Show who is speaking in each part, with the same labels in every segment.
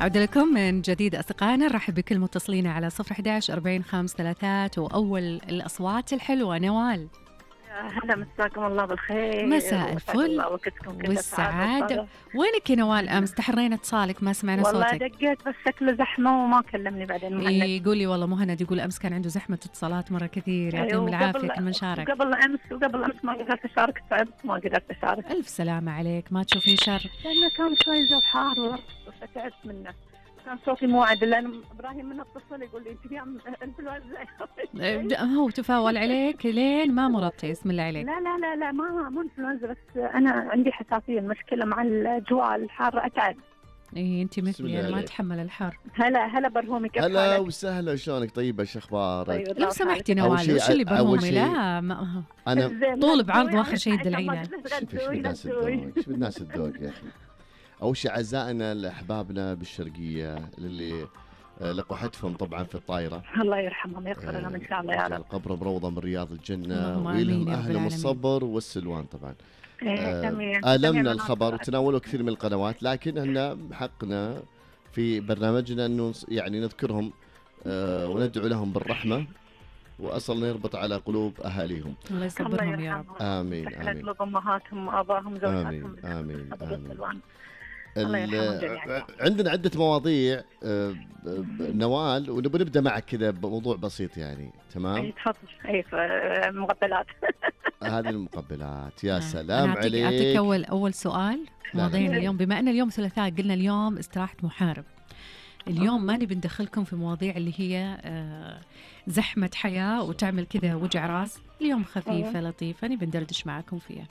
Speaker 1: عودة لكم من جديد أصدقائنا، نرحب بكل متصلين على 011 40 533. وأول الأصوات الحلوة نوال.
Speaker 2: هلا، مساكم الله بالخير.
Speaker 1: مساء الفل والسعادة. وينك يا نوال؟ أمس تحرينا اتصالك ما سمعنا
Speaker 2: والله
Speaker 1: صوتك.
Speaker 2: والله دقيت بس شكله زحمة وما كلمني بعدين مهند.
Speaker 1: يقولي والله مهند يقول أمس كان عنده زحمة اتصالات مرة كثير، يعطيهم العافية كل من شارك.
Speaker 2: وقبل أمس ما قدرت أشارك، تعبت ما قدرت أشارك.
Speaker 1: ألف سلامة عليك، ما تشوفين شر.
Speaker 2: لأنه كان شوي جو حار وتعبت منه، كان صوتي مو عادل. لأن إبراهيم من اتصل يقول لي أنت اليوم إنفلونزا.
Speaker 1: هو تفاول عليك لين ما مرضتي، اسم الله عليك.
Speaker 2: لا مو إنفلونزا، بس أنا عندي حساسية، المشكلة مع الأجواء الحارة أتعب.
Speaker 1: إيه أنت مثلي، أنا ما أتحمل الحر.
Speaker 2: هلا برهومي، كيف حالك؟
Speaker 3: هلا وسهلا، شلونك؟ طيبة، شو أخبارك؟
Speaker 2: طيب
Speaker 1: لو سمحتي نوال، وش اللي برهومي؟ لا ما
Speaker 3: أنا
Speaker 1: طول بعرض واخر شيء تدلعينا.
Speaker 3: شوف الناس الذوق يا أخي. أول شيء عزائنا لأحبابنا بالشرقية اللي لقحتهم طبعا في الطائرة،
Speaker 2: الله يرحمهم ويغفر لهم إن شاء الله يا رب.
Speaker 3: القبر بروضة من رياض الجنة، ويلهم أهلهم الصبر والسلوان. طبعا آلمنا الخبر وتناولوا كثير من القنوات، لكن احنا حقنا في برنامجنا أنه يعني نذكرهم وندعو لهم بالرحمة، وأصل نربط على قلوب أهاليهم.
Speaker 1: الله يصبرهم يا رب.
Speaker 3: آمين
Speaker 2: آمين. أمهاتهم وآبائهم زوجاتهم.
Speaker 3: آمين.
Speaker 2: الله
Speaker 3: عندنا عدة مواضيع نوال، ونبي نبدأ معك كذا بموضوع بسيط يعني. تمام؟
Speaker 2: تفضل. مقبلات.
Speaker 3: هذه المقبلات، يا سلام عليك.
Speaker 1: أعطيك أول سؤال. مواضيعنا اليوم، بما أن اليوم ثلاثاء، قلنا اليوم استراحة محارب. اليوم ما نبي ندخلكم في مواضيع اللي هي زحمة حياة وتعمل كذا وجع راس. اليوم خفيفة لطيفة، نبي ندردش معكم فيها.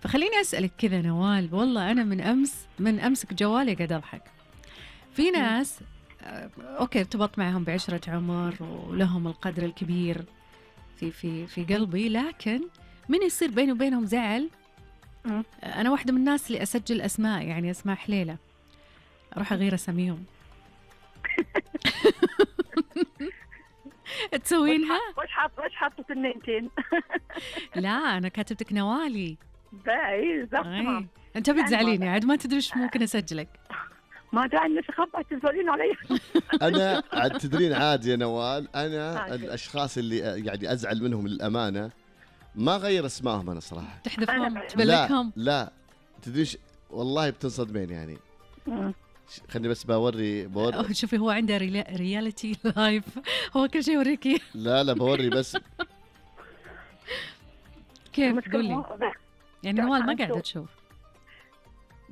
Speaker 1: فخليني أسألك كذا نوال، والله أنا من أمسك جوالي قاعد أضحك. في ناس أوكي ارتبط معهم بعشرة عمر ولهم القدر الكبير في قلبي، لكن من يصير بيني وبينهم زعل. أنا واحدة من الناس اللي أسجل أسماء، يعني أسماء حليلة، أروح أغير أساميهم. تسوينها؟
Speaker 2: وش حاطة النينتين؟
Speaker 1: لا أنا كاتبتك نوالي.
Speaker 2: باي زحمة.
Speaker 1: أنت بتزعليني عاد، ما تدري إيش ممكن أسجلك.
Speaker 2: ما داعي إنك خبأ تزعلين علي.
Speaker 3: أنا عاد تدرين عادي يا نوال، أنا الأشخاص اللي يعني أزعل منهم للأمانة ما غير اسمائهم أنا صراحة.
Speaker 1: تحذفهم تبلكهم؟
Speaker 3: لا تدريش والله بتنصدمين يعني. خلني بس بوري.
Speaker 1: شوفي هو عنده رياليتي لايف، هو كل شيء يوريكي.
Speaker 3: لا بوري بس.
Speaker 1: كيف تقولي؟ يعني نوال ما قاعدة تشوف.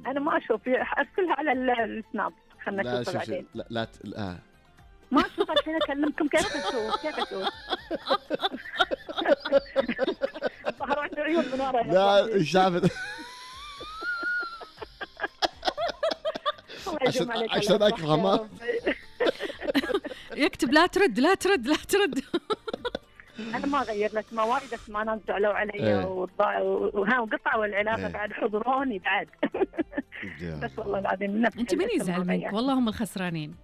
Speaker 2: أنا ما أشوف، أرسلها على السناب، خلنا نشوفها بعدين.
Speaker 3: لا
Speaker 2: ما أشوف الحين أكلمكم. كيف أشوف؟ ظهر عنده عيون من ورا.
Speaker 3: لا شافت. عشان أكرهه
Speaker 1: يكتب لا ترد.
Speaker 2: أنا ما غير لك، ما وايد اسماء ناس زعلوا علي وقطعوا العلاقة بعد حضروني بعد. بس والله العظيم
Speaker 1: أنت من يزعل منك؟ والله هم الخسرانين.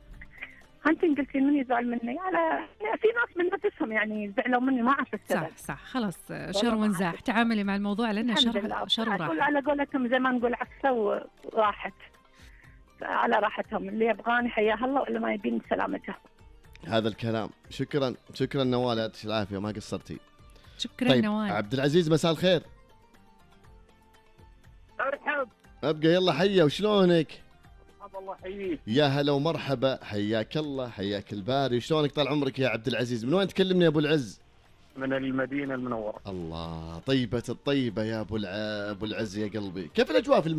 Speaker 2: أنت قلتي من يزعل مني؟ على في ناس من نفسهم يعني زعلوا مني، ما أعرف السبب.
Speaker 1: صح خلاص، شر ونزاح. تعاملي مع الموضوع لأنه شر وراحة.
Speaker 2: على قولتهم زي ما نقول عكسة وراحت، على راحتهم. اللي يبغاني حياه الله، ولا ما يبين سلامته.
Speaker 3: هذا الكلام. شكرا نوال، يعطيك العافية، ما قصرتي.
Speaker 1: شكرا
Speaker 3: طيب
Speaker 1: نوال.
Speaker 3: عبد العزيز، مساء الخير.
Speaker 2: ارحب.
Speaker 3: ابقى يلا حيا، وشلونك؟
Speaker 2: الله يحييك.
Speaker 3: يا هلا ومرحبا، حياك الله، حياك الباري. شلونك طال عمرك يا عبد العزيز؟ من وين تكلمني يا ابو العز؟
Speaker 4: من المدينة المنورة.
Speaker 3: الله، طيبة الطيبة يا ابو العز يا قلبي. كيف الاجواء في المدينة؟